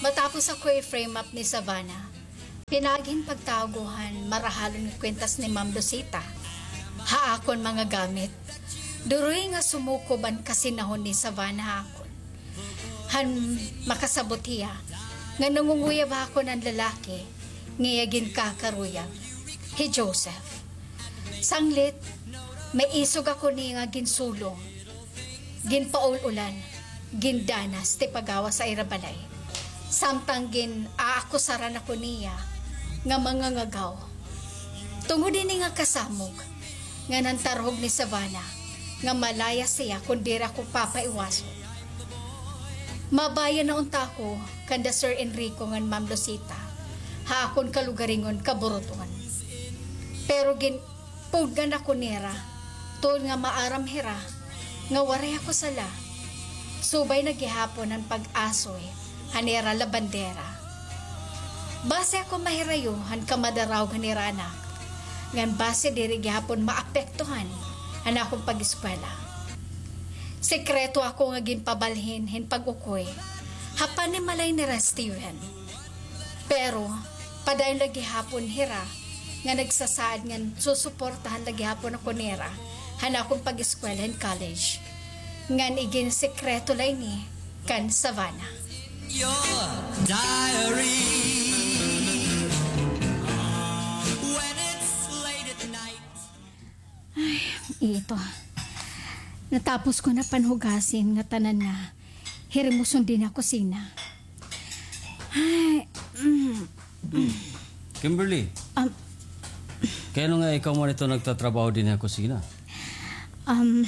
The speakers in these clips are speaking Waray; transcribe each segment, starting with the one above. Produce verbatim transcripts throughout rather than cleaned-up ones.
Matapos ako i-frame up ni Savannah, pinaagi hin pagtago han marahalon nga kwintas ni Ma'am Lucita ha akon mga gamit. Duroy nga sumukob an kasinahon ni Savannah ha akon. Han makasabot hiya nga nangunguyab ha akon an lalaki nga iya ginkakaruyag, hi Joseph. Sanglit, may isog ako niya nga ginsulong, ginpaul-ulan, gindanas ti pagawas ha ira balay. Samtang gin-aakusaran ako niya nga mangangagaw. Tungod ini nga kasamok, nga nantarhog ni Savannah, nga malayas hiya kon diri ako papaiwason. Mabayan na unta ako kanda Sir Enrico ngan Ma'am Lucita, ha akon kalugaringon kaburuton. Pero gin-, puggan ako nira, tungod nga maaram hira nga waray ako sala. Subay na gihapon an pag-asoy han ira labandera. Basi ako mahirayo han kamadarawg han ira anak, ngan basi diri gihapon maapektuhan an akon pag-eskwela. Sekreto ako nga ginpabalhin hin pag-ukoy ha panimalay nira Steven. Pero padayon la gihapon hira nga nagsasaad ngan susuportahan la gihapon ako nira han akon pag-eskwela hin college. Ngan iginsekreto la ini kan Savannah. Your diary. When it's late at night. Ay, ito. Natapos ko na panhugasin nga tanan nga hirimuson dinhi ha kusina. Ay, mm. Kimberly, Um, kay ano nga ikaw man ito nagtatrabaho dinhi ha kusina? Um,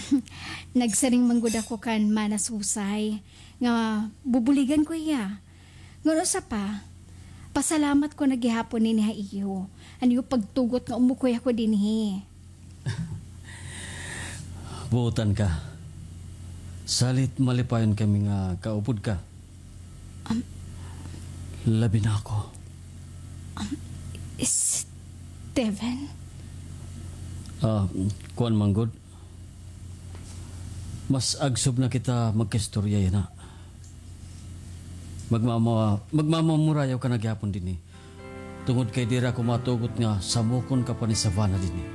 nagsiring man gud ako kan Mana Susay nga bubuligan ko hiya. Ngan usa pa, pasalamat ko na gihapon ini ha iyo. An iyo pagtugot nga umukoy ako dinhi. Buotan ka. Salit malipayon kami nga kaupod ka. Um, Labi na ako. Um, Steven? Ah, kuan man gud. Mas agsob na kita magkaistorya yana. Magmama-, magmamamurayaw ka na gihapon dinhi. Tungod kay diri ako matugot nga samukon ka pa ni Savannah dinhi.